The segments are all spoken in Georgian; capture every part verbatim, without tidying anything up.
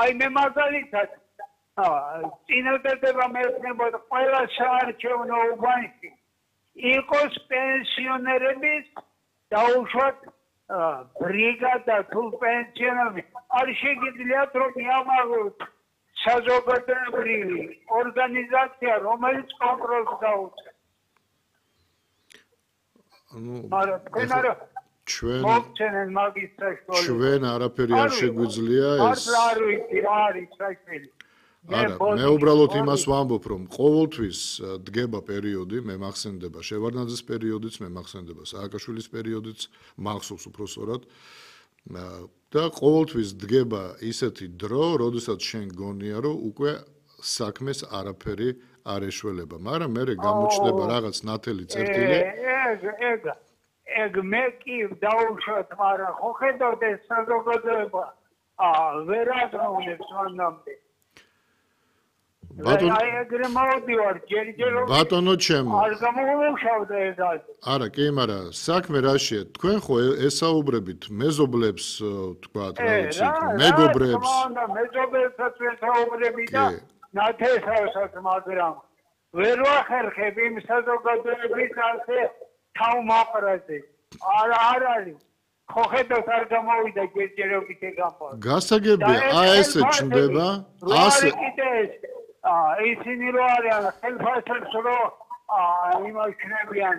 აი მე მაგალითად წინადადება მეცნებოდა ყველა საარჩევნო უბანში იყოს პენსიონერების დაუშვათ ბრიგადა თუ პენსიონერები არ შეგიძლიათ რომ მიამაღლოთ საზოგადოებრივი ორგანიზაცია რომელიც კონტროლს გაუწევს. ანუ ჩვენ ჩვენ ჩვენ არაფერი არ შეგვიძლია ეს არ ვიცი რა არის საქმე. არა, მე უბრალოდ იმას ვამბობ, რომ ყოველთვის დგება პერიოდი, მე მახსენდება შევარდნაძის პერიოდიც, მე მახსენდება სააკაშვილის პერიოდიც, მახსოვს უბრალოდ და ყოველთვის დგება ისეთი დრო, როდესაც შენ გონია, რომ უკვე საქმეს არაფერი არ ეშველება, მაგრამ მე გამოჩნდება რაღაც ნათელი წერტილი. ეგ ეგ ეგ მე კი დაუშვათ, მაგრამ ხო ხედავთ ეს საზოგადოება ვერ აღნოვნებს მანამდე. ბატონო ჩემო არ გამოვიმუშავდა ეს ასე. არა, კი, მაგრამ საქმე რაშია? თქვენ ხო ესაუბრებით მეზობლებს, თქვათ, რა ვიცი, მეგობრებს. რა, მეზობლებსაც ვესაუბრები და ნათესავსაც, მაგრამ ვერ ვახერხებ იმ საზოგადოების ასე თავმოყრაზე. არ არ არის. ხო ხედავთ არ გამოვიდა ჯერჯერობით ეგამო. გასაგებია, აი ესე ჩნდება, ასე ისინი რო არიან ხელფასებს რო იმაშნებიან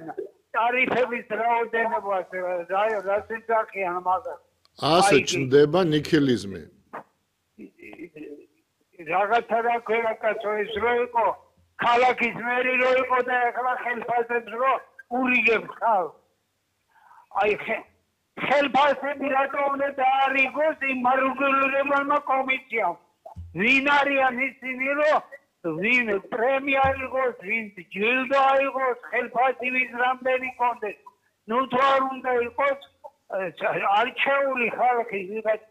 ტარიფების რაოდენობას რაც ეძახიან მაგას ასე ჩნდება ნიქილიზმი რაღაცა რა ქვია კაცო ეს რო იყო ქალაქის მერი რო იყო და ახლა ხელფასებს რო ურიგებს ხალხს აი ხელფასები რატო უნდა დაარიგოს იმ მარგულირებელმა კომისიამ ვინ არიან ისინი რომ ვინ პრემია აიღოს, ვინ ჯილდო აიღოს, ხელფასი ვის რამდენი კონდეს. ნუ თუ არ უნდა იყოს არჩეული ხალხი ვიღაც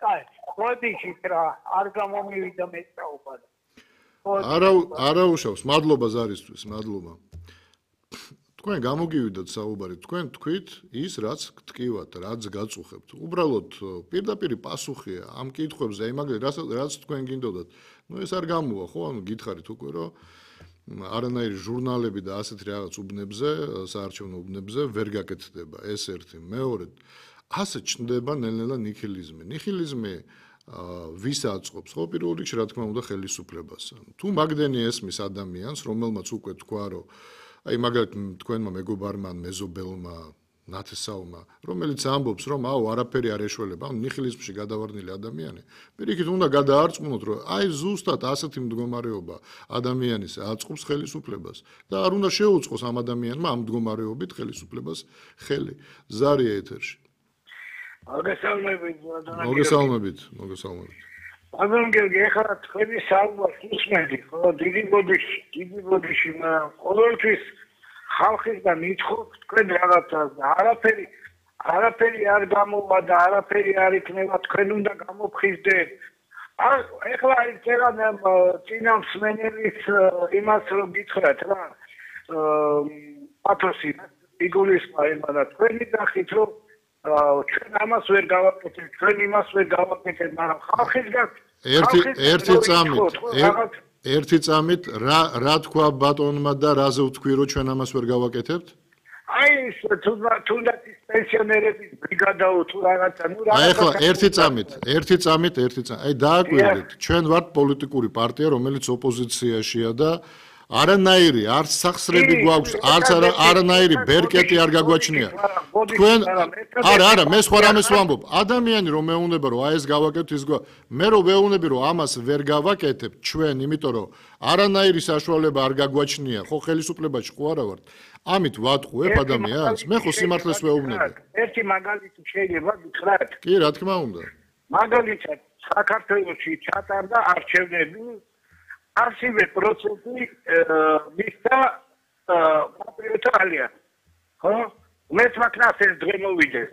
კაი, ბოდიშით რა არ გამომივიდა მეწაობა. არა არა უშავს, მადლობა ზარისთვის, მადლობა. თქვენ გამოგივიდათ საუბარი, თქვენ თქვით ის რაც გტკივათ, რაც გაწუხებთ. უბრალოდ პირდაპირი პასუხია ამ კითხვებზე, იმაგრე რაც რაც თქვენ გინდოდათ. ნუ ეს არ გამოვა, ხო? ანუ გითხარით უკვე, რომ არანაირი ჟურნალები და ასეთი რაღაც უბნებზე, საარჩევნო უბნებზე ვერ გაკეთდება. ეს ერთი, მეორე, ასე ჩნდება ნელ-ნელა ნიჰილიზმი. ნიჰილიზმი ვის აწყობს? ხო, პირველ რიგში რა თქმა უნდა ხელისუფლებას. თუ მაგდენი ესმის ადამიანს, რომელმაც უკვე თქვა, რომ აი მაგალითად თქვენმა მეგობარმა მეზობელმა ნათესავმა რომელიც ამბობს რომ აუ არაფერი არ ეშველება ანუ ნიჰილიზმში გადავარდნილი ადამიანი პირიქით უნდა გადაარწმუნოთ რომ აი ზუსტად ასეთი მდგომარეობა ადამიანის აწყობს ხელისუფლებას და არ უნდა შეუწყოს ამ ადამიანმა ამ მდგომარეობით ხელისუფლებას ხელი ზარია ეთერში მოგესალმებით მოგესალმებით მოგესალმებით მაგრამ გერგი ახლა თქვენი საუბარს უსმენდი ხო დიდი ბოდიში დიდი ბოდიში ყოველთვის ხალხისგან ითხოვთ თქვენ რაღაცას და არაფერი არაფერი არ გამოვა და არაფერი არ იქნება თქვენ უნდა გამოფხიზდეთ ახლა ის წერან წინამსმენელის იმას რომ გითხრათ რა პათოსი იგულისხმა იმანა თქვენი ნახით რომ ჩვენ ამას ვერ გავაკეთებთ, ჩვენ იმას ვერ გავაკეთებთ, მაგრამ ხალხისგან ერთი ერთი წამით, ერთი წამით რა რა თქვა ბატონმა და რაზე ვთქვი რომ ჩვენ ამას ვერ გავაკეთებთ? აი ეს თუნდაც პენსიონერების ბრიგადაო თუ რაღაცა, ნუ რაღაცა. აი ახლა ერთი წამით, ერთი წამით, ერთი წამით. აი დააკვირდით, ჩვენ ვართ პოლიტიკური პარტია, რომელიც ოპოზიციაშია და არანაირი არც სახსრები გვაქვს, არც არანაირი ბერკეტი არ გაგვაჩნია. თქვენ არა, არა, მე სხვა რამეს ვამბობ. ადამიანი რომ მეუნება რომ აი ეს გავაკეთოთ ის მე რომ მეუნები რომ ამას ვერ გავაკეთებთ ჩვენ, იმიტომ რომ არანაირი საშუალება არ გაგვაჩნია, ხო ხელისუფლებაში ხო არა ვართ. ამით ვატყუებ ადამიანს, მე ხო სიმართლეს ვეუბნები. ერთი მაგალითი შეიძლება გითხრათ? კი, რა თქმა უნდა. მაგალითად, საქართველოში ჩატარდა არჩევნები ასივე პროცესი მისცა პატრიოტთა ალიანსი. ხო? მეც მაქნას ეს დღე მოვიდეს.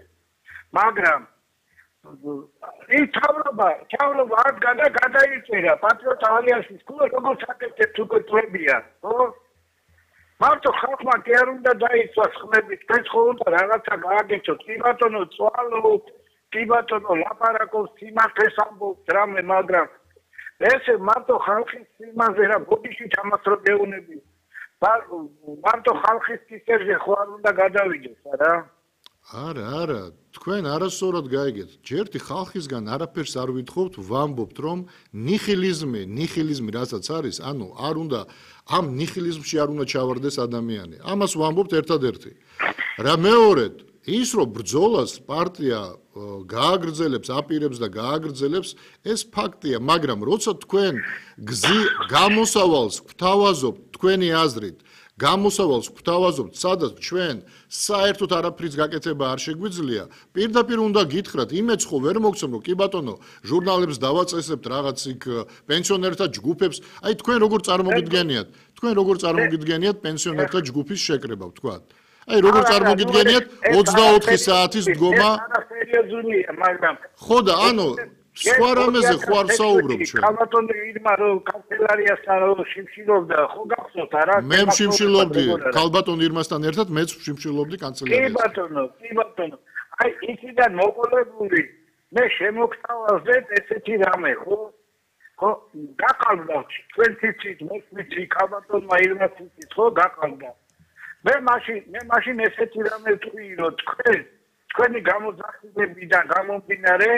მაგრამ ის თავრობა, თავრობა არ გადა გადაიწერა პატრიოტთა ალიანსის კულო როგორ საკეთებთ უკვე წლებია, ხო? მარტო ხალხმა კი არ უნდა დაიცვას ხმებით, თქვენ ხო უნდა რაღაცა გააკეთოთ, კი ბატონო, წვალოთ, კი ბატონო, ლაპარაკობს სიმართლეს ამბობს რამე, მაგრამ ესე მარტო ხალხის სიმაზე რა ბოდიშით ამას რო გეუნები. მარტო ხალხის კისერზე ხო არ უნდა გადავიდეს, არა? არა, არა, თქვენ არასწორად გაიგეთ. ჯერთი ხალხისგან არაფერს არ ვითხოვთ, ვამბობთ, რომ ნიჰილიზმი, ნიჰილიზმი რასაც არის, ანუ არ უნდა ამ ნიჰილიზმში არ უნდა ჩავარდეს ადამიანი. ამას ვამბობთ ერთადერთი. რა მეორედ, ის რომ ბრძოლას პარტია გააგრძელებს, აპირებს და გააგრძელებს, ეს ფაქტია, მაგრამ როცა თქვენ გზი გამოსავალს გვთავაზობთ თქვენი აზრით, გამოსავალს გვთავაზობთ, სადაც ჩვენ საერთოდ არაფრის გაკეთება არ შეგვიძლია, პირდაპირ უნდა გითხრათ, იმეც ხო ვერ მოგცემ, რომ კი ბატონო, ჟურნალებს დავაწესებთ რაღაც იქ პენსიონერთა ჯგუფებს, აი თქვენ როგორ წარმოგიდგენიათ, თქვენ როგორ წარმოგიდგენიათ პენსიონერთა ჯგუფის შეკრება, ვთქვათ. აი როგორ წარმოგიდგენიათ ოცდაოთხი საათის დგომა? სერიოზულია, მაგრამ ხო და ანუ სხვა რამეზე ხო არ ვსაუბრობ ჩვენ. კალბატონი ირმა რო კანცელარიასთან რო შიმშილობდა, ხო გახსოვთ არა? მე შიმშილობდი კალბატონ ირმასთან ერთად, მეც შიმშილობდი კანცელარიასთან. კი ბატონო, კი ბატონო. აი ისიდან მოყოლებული მე შემოგთავაზეთ ესეთი რამე, ხო? ხო, გაყალბდა თქვენ თვითით, მე თვითი კალბატონმა ირმას თვითით, ხო, გაყალბდა. მე მაშინ, მე მაშინ ესეთი რამე ვთქვი, რომ თქვენ, თქვენი გამოძახილებიდან გამომდინარე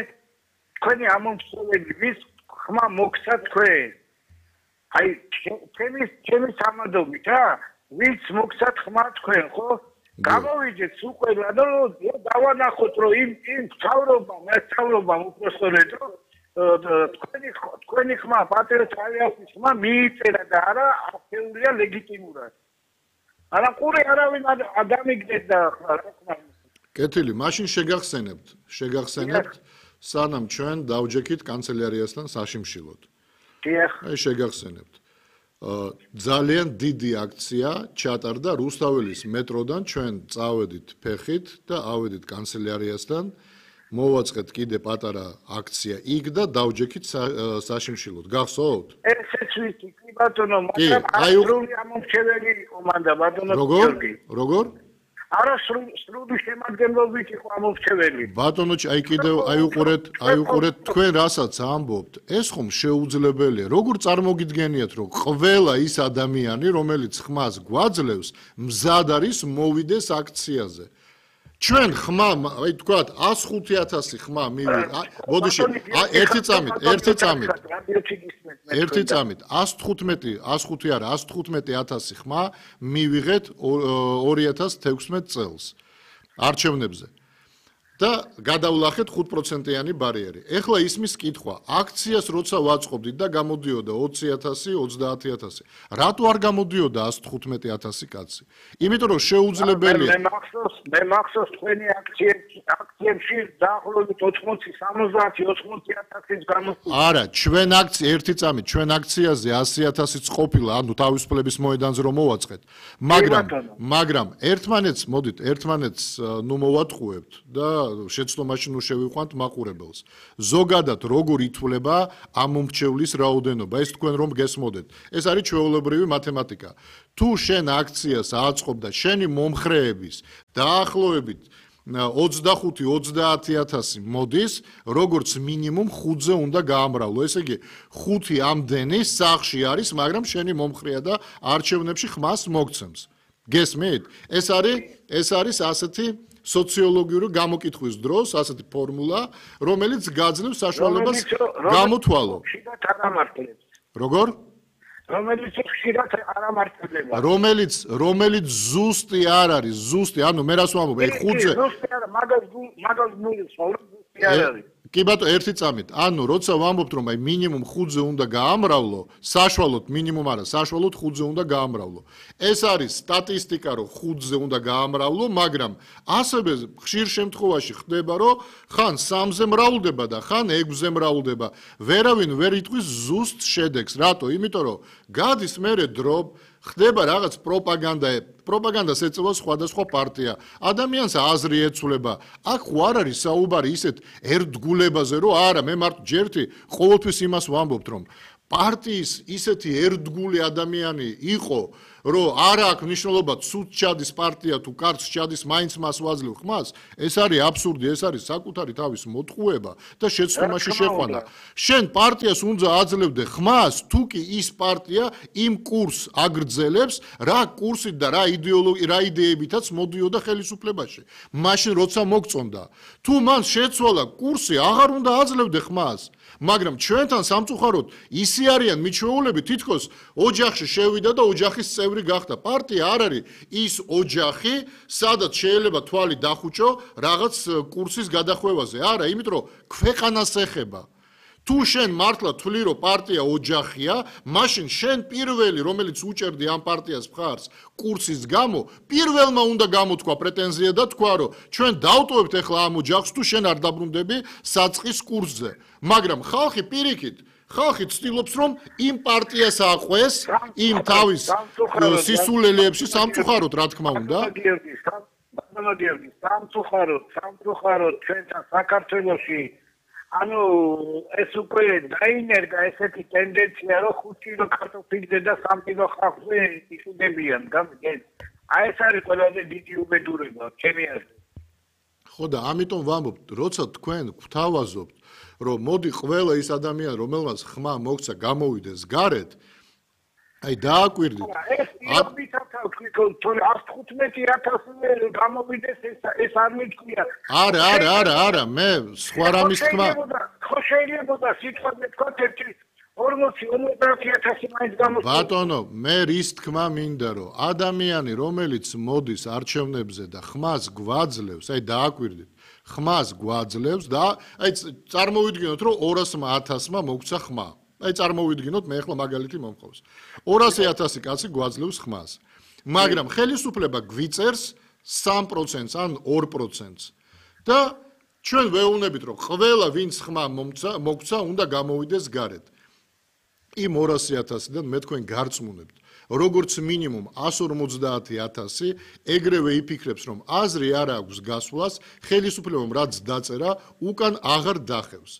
თქვენი ამომრჩეველი ვის ხმა მოგცა თქვენ? აი, ჩემი ჩემი სამადობით, რა? ვის მოგცა ხმა თქვენ, ხო? გამოვიჯეთ უკვე, რომ დავანახოთ, რომ იმ იმ თავრობა, მე თავრობა უпроსტორეთ, რომ თქვენი თქვენი ხმა, პატერ თავიასის ხმა მიიწერა და არა აქტიურია ლეგიტიმურად. არა ყური არავინ ადამიგდეს და რა თქმა უნდა. კეთილი, მაშინ შეგახსენებთ, შეგახსენებთ სანამ ჩვენ დავჯექით კანცელარიასთან საშიმშილოდ. დიახ. აი შეგახსენებთ. ძალიან დიდი აქცია ჩატარდა რუსთაველის მეტროდან, ჩვენ წავედით ფეხით და ავედით კანცელარიასთან. მოვაწყეთ კიდე პატარა აქცია იქ და დავჯექით საშიმშილოდ. გახსოვთ? ესეც ვიცი, კი ბატონო, მაგრამ სრული ამომრჩეველი იყო მანდა ბატონო გიორგი. როგორ? არა სრული შემადგენლობით იყო ამომრჩეველი. ბატონო, აი კიდევ აი უყურეთ, აი უყურეთ თქვენ რასაც ამბობთ, ეს ხომ შეუძლებელია. როგორ წარმოგიდგენიათ, რომ ყველა ის ადამიანი, რომელიც ხმას გვაძლევს, მზად არის მოვიდეს აქციაზე. ჩვენ ხმა, აი თქვათ εκατს ხუთი ათასი ხმა მივიღეთ. ბოდიში, ერთი წამით, ერთი წამით. ერთი წამით, εκατს თხუთმეტი, εκατს ხუთი არა, εκατს თხუთმეტი ათასი ხმა მივიღეთ ორი ათას თექვსმეტ წელს არჩევნებზე. და გადავლახეთ ხუთ პროცენტიანი ბარიერი. ეხლა ისმის კითხვა, აქციას როცა ვაწყობდით და გამოდიოდა ოცი ათასი, ოცდაათი ათასი. რატო არ გამოდიოდა εκατს თხუთმეტი ათასი კაცი? იმიტომ რომ შეუძლებელია. მე მახსოვს, მე მახსოვს თქვენი აქციებში, აქციებში დაახლოებით ოცდაათი, სამოცდაათი, ოცდაათი ათასის გამოსვლა. არა, ჩვენ აქცია ერთი წამით, ჩვენ აქციაზე ასი ათასიც ყოფილა, ანუ თავისუფლების მოედანზე რომ მოვაწყეთ. მაგრამ, მაგრამ ერთმანეთს, მოდით, ერთმანეთს ნუ მოვატყუებთ და შეცდომაში ნუ შევიყვანთ მაყურებელს. ზოგადად როგორ ითვლება ამომრჩევლის რაოდენობა, ეს თქვენ რომ გესმოდეთ. ეს არის ჩვეულებრივი მათემატიკა. თუ შენ აქციას აწყობ და შენი მომხრეების დაახლოებით ოცდახუთი ოცდაათი ათასი მოდის, როგორც მინიმუმ ხუთზე უნდა გაამრავლო. ესე იგი, ხუთი ამდენი სახში არის, მაგრამ შენი მომხრეა და არჩევნებში ხმას მოგცემს. გესმით? ეს არის ეს არის ასეთი სოციოლოგიური გამოკითხვის დროს ასეთი ფორმულა, რომელიც გაძლევს საშუალებას გამოთვალო. როგორ? რომელიც ხშირად არ ამართლდება. რომელიც რომელიც ზუსტი არ არის, ზუსტი, ანუ მე რას ვამბობ, აი ხუთზე. ზუსტი არა, მაგას მაგას მოიწვა, ზუსტი არ არის. კი ბატონო, ერთი წამით. ანუ როცა ვამბობთ, რომ აი მინიმუმ ხუთზე უნდა გაამრავლო, საშუალოდ მინიმუმ არა, საშუალოდ ხუთზე უნდა გაამრავლო. ეს არის სტატისტიკა, რომ ხუთზე უნდა გაამრავლო, მაგრამ ასევე ხშირ შემთხვევაში ხდება, რომ ხან სამზე მრავლდება და ხან ექვსზე მრავლდება. ვერავინ ვერ იტყვის ზუსტ შედეგს. რატო? იმიტომ რომ გადის მერე დრო ხდება რაღაც პროპაგანდა, პროპაგანდას ეწევა სხვადასხვა პარტია. ადამიანს აზრი ეცვლება. აქ ხო არ არის საუბარი ისეთ ერთგულებაზე, რომ არა, მე მარტო ჯერთი ყოველთვის იმას ვამბობთ, რომ პარტიის ისეთი ერთგული ადამიანი იყო, რომ არ აქვს მნიშვნელობა ცუდ ჩადის პარტია თუ კარგს ჩადის მაინც მას ვაძლევ ხმას, ეს არის აბსურდი, ეს არის საკუთარი თავის მოტყუება და შეცდომაში შეყვანა. შენ პარტიას უნდა აძლევდე ხმას, თუ კი ის პარტია იმ კურსს აგრძელებს, რა კურსით და რა იდეოლოგი, რა იდეებითაც მოდიოდა ხელისუფლებაში. მაშინ როცა მოგწონდა, თუ მან შეცვალა კურსი, აღარ უნდა აძლევდე ხმას. მაგრამ ჩვენთან სამწუხაროდ ისი არიან მიჩვეულები, თითქოს ოჯახში შევიდა და ოჯახის წევრი გახდა. პარტია არ არის ის ოჯახი, სადაც შეიძლება თვალი დახუჭო რაღაც კურსის გადახვევაზე. არა, იმიტომ რომ ქვეყანას ეხება. თუ შენ მართლა თვლი რომ პარტია ოჯახია, მაშინ შენ პირველი, რომელიც უჭერდი ამ პარტიას მხარს კურსის გამო, პირველმა უნდა გამოთქვა პრეტენზია და თქვა რომ ჩვენ დავტოვებთ ახლა ამ ოჯახს, თუ შენ არ დაბრუნდები საწყის კურსზე. მაგრამ ხალხი პირიქით, ხალხი ცდილობს რომ იმ პარტიას აყვეს, იმ თავის სისულელეებში სამწუხაროდ, რა თქმა უნდა. ბატონო, სამწუხაროდ, სამწუხაროდ ჩვენთან საქართველოში ანუ ეს უკვე დაინერგა ესეთი ტენდენცია, რომ ხუთი კილო კარტოფილზე და სამი კილო ხავზე იყიდებიან. აი ეს არის ყველაზე დიდი უბედურება, ჩემი აზრით. ხო და ამიტომ ვამბობ, როცა თქვენ გვთავაზობთ, რომ მოდი ყველა ის ადამიანი, რომელმაც ხმა მოგცა, გამოვიდეს გარეთ, აი დააკვირდით. ეს იობითათა თქო, ათს თხუთმეტი ათასი გამოვიდეს, ეს არ მითქვია. არა, არა, არა, არა, მე სხვა რამის თქმა. ხო შეიძლება სიტყვაზე თქვათ ერთი ორმოცი ორმოცდაათი ათასი მაინც გამოსულა. ბატონო, მე რის თქმა მინდა, რომ ადამიანი, რომელიც მოდის არჩევნებზე და ხმას გვაძლევს, აი დააკვირდით, ხმას გვაძლევს და აი წარმოვიდგინოთ, რომ ორასმა ათასმა მოგცა ხმა. აი წარმოვიდგინოთ, მე ახლა მაგალითი მომხავს. ორასი ათასი კაცი გვაძლევს ხმას. მაგრამ ხელისუფლება გვიწერს სამ პროცენტს ან ორ პროცენტს. და ჩვენ ვეუბნებით, რომ ყველა ვინც ხმა მოგცა, უნდა გამოვიდეს გარეთ. იმ ორასი ათასიდან მე თქვენ გარწმუნებთ, როგორც მინიმუმ ასი ორმოცდაათი ათასი ეგრევე იფიქრებს, რომ აზრი არ აქვს გასვლას, ხელისუფლებამ რაც დაწერა, უკან აღარ დახევს.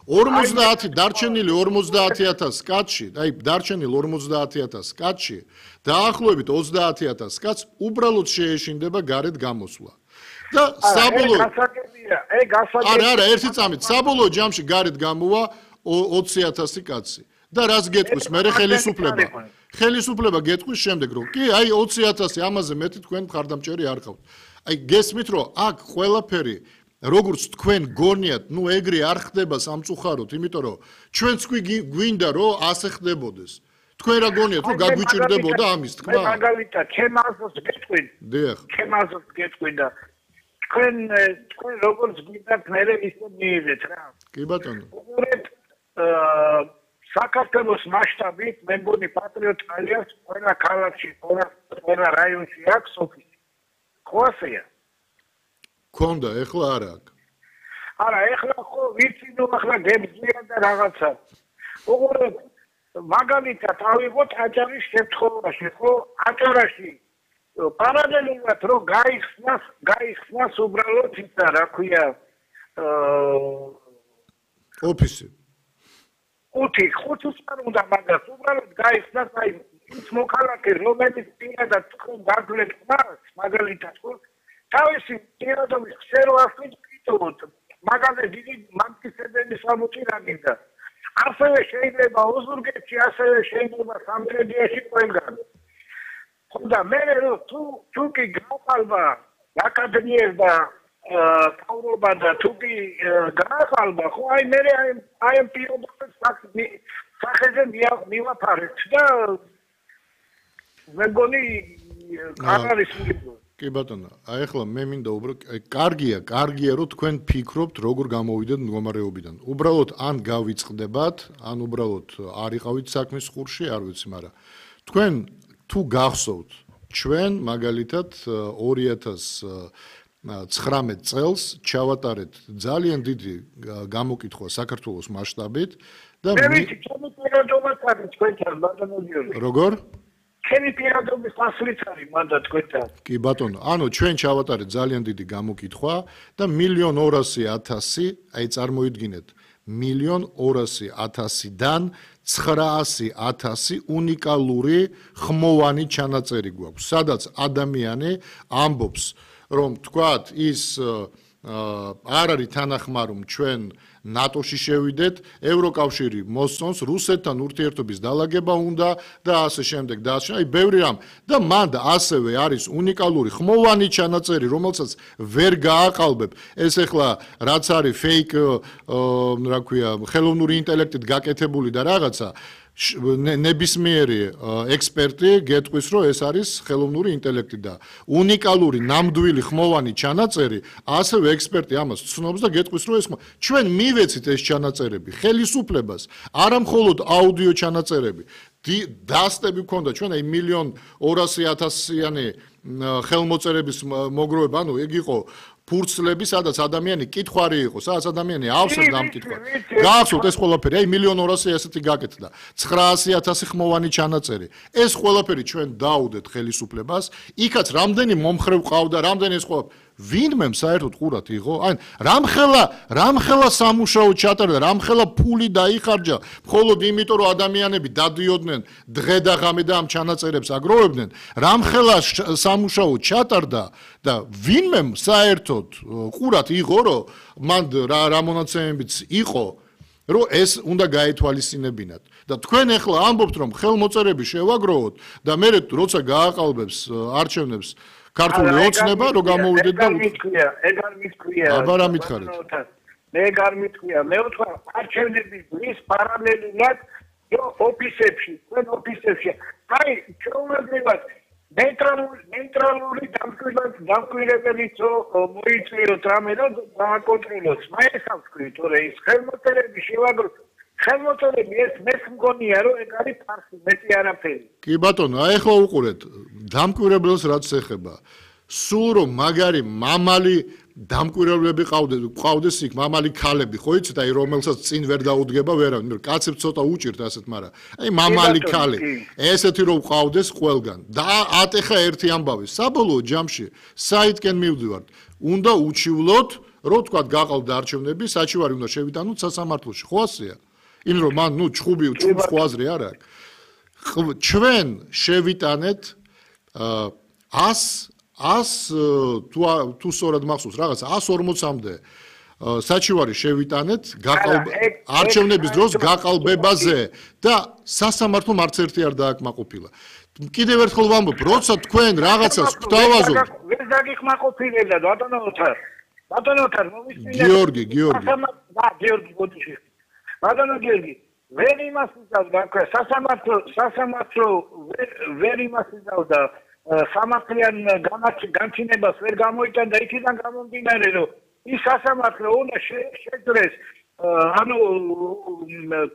ორმოცდაათი დარჩენილი ორმოცდაათი ათასი კაცში, აი დარჩენილი ორმოცდაათი ათასი კაცში, დაახლოებით ოცდაათი ათასი კაც უბრალოდ შეეშინდება გარეთ გამოსვლა. და საბოლოო არა, არა, ერთი წამით, საბოლოო ჯამში გარეთ გამოვა ოცი ათასი კაცი. და რას გეტყვის მე ხელისუფლება? ხელისუფლება გეტყვის შემდეგ, რომ კი, აი ოცი ათასი ამაზე მეტი თქვენ მხარდამჭერი არ ხავთ. აი გესმით, რომ აქ ყველაფერი როგორც თქვენ გონიათ, ნუ ეგრე არ ხდება სამწუხაროდ, იმიტომ რომ ჩვენც გვინდა რომ ასე ხდებოდეს. თქვენ რა გონიათ, რომ გაგვიჭირდებოდა ამის თქმა? მაგალითად, ჩემ აზრს გეტყვი. დიახ. ჩემ აზრს გეტყვი და თქვენ თქვენ როგორც გვინდათ მე ისე მიიღეთ რა. კი ბატონო. უყურეთ აა საქართველოს მასშტაბით მე მგონი პატრიოტ ალიას ყველა ქალაქში, ყველა რაიონში აქვს ოფისი. ხო ასეა? ქონდა, ეხლა არ აქვს. არა, ეხლა ხო ვიცი, ნუ ახლა გებზიან და რაღაცა. უყურეთ, მაგალითად ავიღოთ აჭარის შემთხვევაში, ხო? აჭარაში პარალელურად რომ გაიხსნას, გაიხსნას უბრალოდ ისა, რა ქვია, აა ოფისი. ხუთი, ხუთს არ უნდა მაგას, უბრალოდ გაიხსნას აი ის მოქალაქე, რომელიც პირადად თქვენ გაძლევთ მას, მაგალითად, ხო? თავისი პირადობის ხსერო ასვით ვიტოვოთ, მაგაზე დიდი მამკიცებელი სამუჭი რა გინდა. ასევე შეიძლება ოზურგეთში, ასევე შეიძლება სამტრედიაში ყველგან. ხო და მე რომ თუ თუ კი გაყალბა აკადემიას და თავრობა და თუ კი გაყალბა, ხო აი მე აი აი ამ პირობებს სახეზე მივაფარეთ და მე მგონი არ არის მიგო. კი ბატონო, აი ახლა მე მინდა უბრალოდ აი კარგია, კარგია რომ თქვენ ფიქრობთ როგორ გამოვიდეთ მდგომარეობიდან. უბრალოდ ან გავიწყდებათ, ან უბრალოდ არ იყავით საქმის ხურში, არ ვიცი, მაგრამ თქვენ თუ გახსოვთ, ჩვენ მაგალითად ორი ათასი ცხრამეტ წელს ჩავატარეთ ძალიან დიდი გამოკითხვა საქართველოს მასშტაბით და მე ვიცი, ჩემი პირადობაც არის თქვენთან, ბატონო გიორგი. როგორ? ჩემი პირადობის ასლიც არის მანდა თქვენთან. კი ბატონო, ანუ ჩვენ ჩავატარეთ ძალიან დიდი გამოკითხვა და მილიონ ორასი ათასი, აი წარმოიდგინეთ, მილიონ ორასი ათასიდან ცხრაასი ათასი უნიკალური ხმოვანი ჩანაწერი გვაქვს, სადაც ადამიანი ამბობს, რომ თქვათ ის არ არის თანახმარი, რომ ჩვენ ნატოში შევიდეთ, ევროკავშირი მოსწონს რუსეთთან ურთიერთობის დალაგება უნდა და ასე შემდეგ და ასე. აი ბევრი რამ და მანდ ასევე არის უნიკალური ხმოვანი ჩანაწერი, რომელსაც ვერ გააყალბებ. ეს ახლა რაც არის fake, რა ქვია, ხელოვნური ინტელექტით გაკეთებული და რაღაცა ნებისმიერი ექსპერტი გეტყვის, რომ ეს არის ხელოვნური ინტელექტი და უნიკალური ნამდვილი ხმოვანი ჩანაწერი, ასევე ექსპერტი ამას ცნობს და გეტყვის, რომ ეს ჩვენ მივეცით ეს ჩანაწერები ხელისუფლებას, არა მხოლოდ აუდიო ჩანაწერები, დასტები გქონდა ჩვენ აი მილიონ ორასი ათასიანი ხელმოწერების მოგროვება, ანუ ეგ იყო ფურცლები, სადაც ადამიანი კითხვარი იყო, სადაც ადამიანი ავსებს დამკითხვა. გაახსოვთ ეს ყველაფერი, აი მილიონ ორასი ესეთი გაკეთდა. ცხრაასი ათასი ხმოვანი ჩანაწერი. ეს ყველაფერი ჩვენ დაუდეთ ხელისუფლებას, იქაც რამდენი მომხრევ ყავდა, რამდენი ეს ყველაფერი ვინმე საერთოდ ყურად იღო? აი რამხელა, რამხელა სამუშაო ჩატარდა, რამხელა ფული დაიხარჯა, მხოლოდ იმიტომ რომ ადამიანები დადიოდნენ დღე და ღამე და ამ ჩანაწერებს აგროვებდნენ, რამხელა სამუშაო ჩატარდა და ვინმე საერთოდ ყურად იღო, რომ მან რა რა მონაცემებიც იყო, რომ ეს უნდა გაეთვალისწინებინათ. და თქვენ ახლა ამბობთ, რომ ხელმოწერები შევაგროვოთ და მე როცა გააყალბებს არჩევნებს ქართული ოცნება რომ გამოვიდეთ და მithქვია, ეგ არ მithქვია. აბა რა მითხარით? მე ეგ არ მithქვია. მე ვთქვა არჩევნების დღის პარალელურად ოფისებში, თქვენ ოფისებში. აი, ჩვეულებრივად ნეიტრალური ნეიტრალური დამკვირვებელიც მოიწვიოთ რამე და გააკონტროლოთ. მაინც ვთქვი, თორე ის ხელმოწერები შევაგროთ. ხელმოწერები ეს მეც მგონია რომ ეგ არის ფარსი, მეტი არაფერი. კი ბატონო, აი ახლა უყურეთ, დამკვირვებელს რაც ეხება. სულ რომ მაგარი მამალი დამკვირვებლები ყავდეს, ყავდეს იქ მამალი ქალები, ხო იცით, აი რომელსაც წინ ვერ დაუდგება ვერავინ, მე კაცებს ცოტა უჭირთ ასეთ, მაგრამ აი მამალი ქალი, ესეთი რომ ყავდეს ყველგან. და ატეხა ერთი ამბავი, საბოლოო ჯამში საითკენ მივდივართ, უნდა უჩივლოთ, რომ თქვა გაყალბდა არჩევნები, საჩივარი უნდა შევიტანოთ სასამართლოში, ხო ასეა? იმ რომ მან ნუ ჩხუბი ჩხუბს ხო აზრი არ აქვს. ჩვენ შევიტანეთ ას თუ თუ სწორად მახსოვს რაღაც ას ორმოცამდე საჩივარი შევიტანეთ არჩევნების დროს გაყალბებაზე და სასამართლომ არც ერთი არ დააკმაყოფილა. კიდევ ერთხელ ვამბობ, როცა თქვენ რაღაცას გვთავაზობთ, ვერ დაგიკმაყოფილებდა ბატონო ოთარ. ბატონო ოთარ, მომისმინე. გიორგი, გიორგი. და გიორგი გოდიში. ბატონო გიორგი, ვერ იმას იცავდა, სასამართლო სასამართლო ვერ იმას იცავდა სამართლიან განჩინებას ვერ გამოიტანდა იქიდან გამომდინარე, რომ ის სასამართლო უნდა შეძლეს ანუ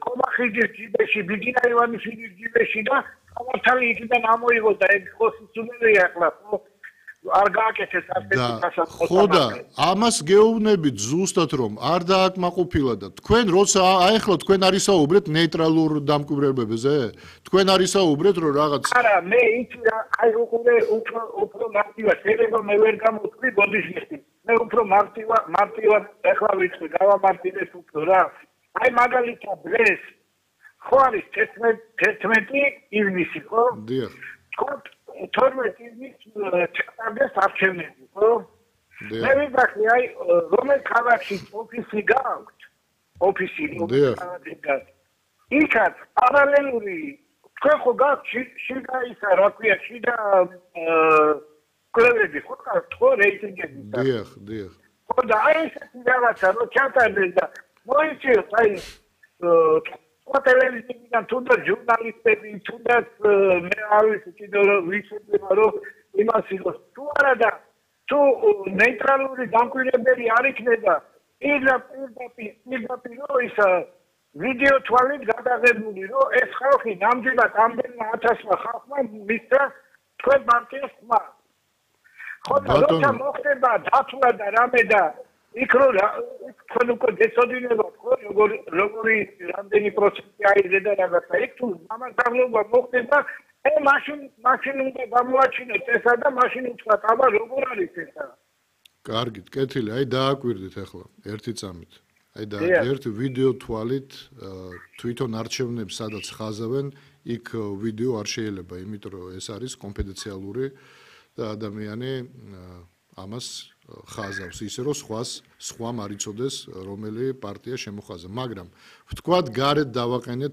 კომახიძის ჯიბეში, ბიგინა ივანიშვილის ჯიბეში და სამართალი იქიდან ამოიღოს და ეგ ხო სიცოცხლეა ახლა, ხო? არ გააკეთეს ასეთი სასამართლო. ხო და ამას გეუბნებით ზუსტად რომ არ დააკმაყოფილა და თქვენ როცა აი ახლა თქვენ არისაუბრეთ ნეიტრალურ დამკვირვებებზე? თქვენ არისაუბრეთ რომ რაღაც არა, მე იცი რა, აი უყურე უფრო უფრო მარტივად, შეიძლება მე ვერ გამოვთქვი ბოდიშნიხი. მე უფრო მარტივად მარტივად ახლა ვიცი, გავამარტივეს უფრო რა. აი მაგალითად დღეს ხო არის თერთმეტი ივნისი, ხო? დიახ. თორმეტი ივნისს ჩატარდეს არჩევნები, ხო? მე ვიძახი, აი რომელ ქალაქში ოფისი გააქვთ, ოფისი, იქაც პარალელური, თქვენ ხო გაქვთ შიდა ისა, რა ქვია, შიდა კვლევები, ხო გაქვთ, ხო რეიტინგები. დიახ, დიახ. ხო და აი ესეთი რაღაცა, რომ ჩატარდეს და მოიწიოთ, აი ტელევიზიიდან თუნდაც ჟურნალისტები, თუნდაც მე არ ვიცი კიდევ ვიცოდება რომ იმას იყოს. თუ არა და თუ ნეიტრალური დამკვირვებელი არ იქნება, პირდაპირ პირდაპირ ის ვიდეო თვალით გადაღებული, რომ ეს ხალხი ნამდვილად ამდენმა ათასმა ხალხმა მისცა თქვენ პარტიას ხმა. ხო და როცა მოხდება დათვლა და რამე და იქ რო თქვენ უკვე გეცოდინებათ, ხო, როგორი როგორი რამდენი პროცენტი აიღე და რაღაცა, იქ თუ ამასაღლობა მოხდება, ე მაშინ მაშინ უნდა გამოაჩინოთ ესა და მაშინ უთხრათ, აბა როგორ არის ესა? კარგით, კეთილი, აი დააკვირდით ახლა ერთი წამით. აი და ერთ ვიდეო თვალით თვითონ არჩევნებს სადაც ხაზავენ, იქ ვიდეო არ შეიძლება, იმიტომ რომ ეს არის კონფიდენციალური და ადამიანი ამას ხაზავს ისე რომ სხვას სხვამ არ იცოდეს რომელი პარტია შემოხაზა, მაგრამ ვთქვათ გარეთ დავაყენეთ